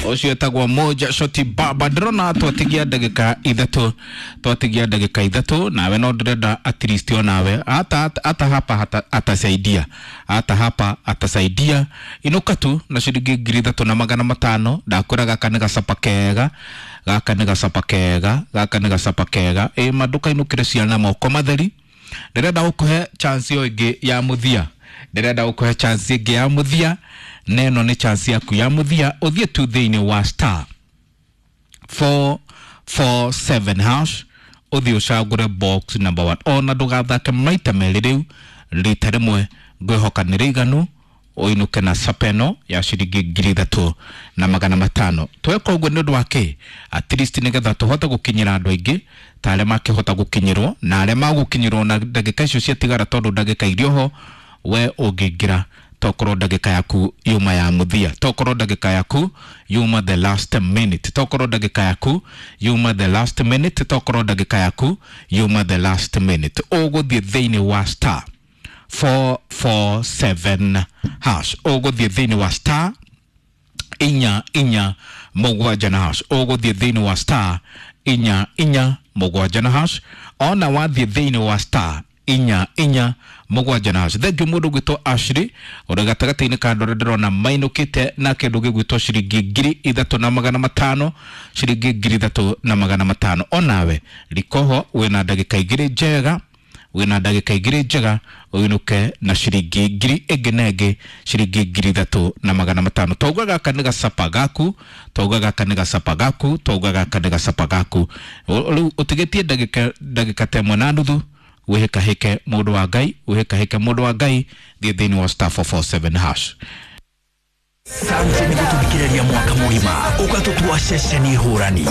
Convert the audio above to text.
Ũcio etagwo Moja Shoti Baba. Ndĩrona twatigia ndagĩka ithatũ, twatigia ndagĩka ithatũ, nawe no ndĩrenda at least onawe hata hapa hata, atasaidia hata hapa atasaidia. Inũka tu na ciringi 3500. Ndakwĩra gaka nĩ gacapa kega, gaka nĩ gacapa kega, gaka nĩ gacapa kega. Ĩ ma ndũkainũkĩre ciana moko matheri. Ndĩrenda gũkũhe chance ĩyo ĩngĩ ya mũthia, ndĩrenda gũkũhe chance ĩngĩ ya mũthia, na ĩno nĩ chance yaku ya mũthia. Ũthiĩ tu thĩinĩ wa star 447 hash, ũthiĩ ũcagũre box number 1. Ona ndũgathake maita merĩ rĩu, rita rĩmwe ngwĩhoka nĩ rĩiganu ũinũke na sapeno ya ciringi 3500. Tweka ũguo nĩ ũndũ wa kĩ? At least nĩgetha tũhote gũkinyĩra andũ aingĩ ta arĩa makĩhota gũkinyĩrwo na arĩa magũkinyĩrwo na ndagĩka icio ciatigara, tondũ ndagĩka iria ho we ũngĩingĩra tokorwo ndagĩka yaku yuma ya mũthia, tokorwo ndagĩka yaku yuma the last minute, tokorwo ndagĩka yaku yuma the last minute, tokorwo ndagĩka yaku yuma the last minute. Ũgũthiĩ thĩinĩ wa star 447 hash, ũgũthiĩ thĩinĩ wa star 447 na hash, ũgũthiĩ thĩinĩ wa star 447 na hash. Ona wathiĩ thĩinĩ wa star 447 na hash. Thank you mũndũ gwĩtwo Ashley ũrĩ gatagatĩ-inĩ ka andũ arĩa ndĩrona mainũkĩte na kĩndũ gĩgwĩtwo ciringi 3500, ciringi 3500. Onawe rikoho wĩna ndagĩka igĩrĩ njega, wĩna ndagĩka igĩrĩ njega ũinũke na ciringi ngiri ĩngĩ na ĩngĩ, ciringi 3500. Twauga gaka nĩ gacapa gaku, twauga gaka nĩ gacapa gaku, twauga gaka nĩ gacapa gaku. Rĩu ũtigĩtie ndagĩka ta ĩmwe na nuthu, wĩhĩkahĩke mũndũ wa Ngai, wĩhĩkahĩke mũndũ wa Ngai, thiĩ thĩinĩ wa star 447 hash. Sante nĩ gũtũthikĩrĩria mwaka mũgima ũgatũtua ceceni hũrani.